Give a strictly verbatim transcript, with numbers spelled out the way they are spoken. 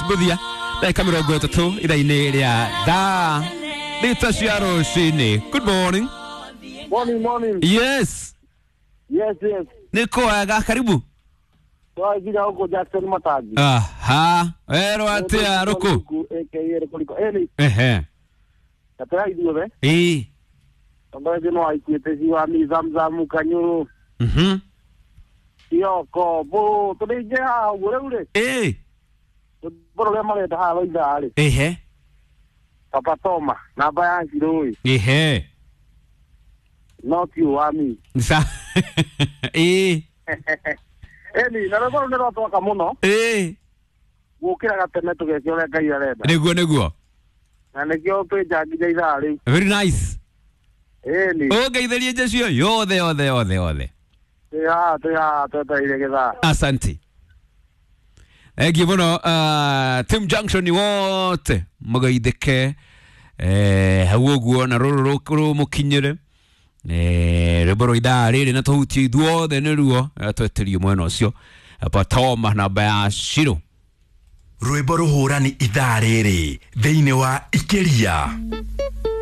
Mbuthia ndagĩka mĩrongo ĩtatũ ithaa-inĩ rĩa thaa thita cia rũcinĩ. Good morning. Morning, morning. Yes. Yes, yes. Nĩ kwega, karibu. Twakinya huko Jackson Matangi. Aha, werwo atĩa rũkũ? A K A Rũkũriko. Ĩni, Ehe. gatera ithuothe. Ĩĩ. Tongoretie no aikuĩte ciwami Zamzamu Kanyũrũ. Mhm. Kioko, bũ, tũrĩingĩ haha ũguo rĩu rĩ. Ĩĩ. Rwĩmbo rũrĩa marenda haha rwa ithaa rĩ. Ehe. Papa Toma, namba ya Shirũĩ. Ehe. No ti wami. Sa. Ĩĩ. Ĩni, na rwĩmbo rũu nĩ rwatwaka mũno. Ĩĩ. Gũkĩra gatene tũgeke ũrĩa Ngai arenda. Nĩguo nĩguo. Na nĩkĩo twĩ nja nginya ithaa rĩu. Very nice. Ĩni, Ũngeithĩrie njecio yothe yothe yothe yothe. Twĩ haha twĩ haha twetereire gĩthaa. Asante. Thengiũ mũno, uh, Team Junction wote mũgeithĩke eh, hau ũguo na rũrũ rũmũkinyĩre eh, rwĩmbo rwa ithaa rĩrĩ na tũhutie ithuothe nĩruo eh, tweterio mwena ũcio Patoma namba ya Shiro. Rwĩmbo rũhũrani ithaa rĩrĩ thĩinĩ wa Ikĩria.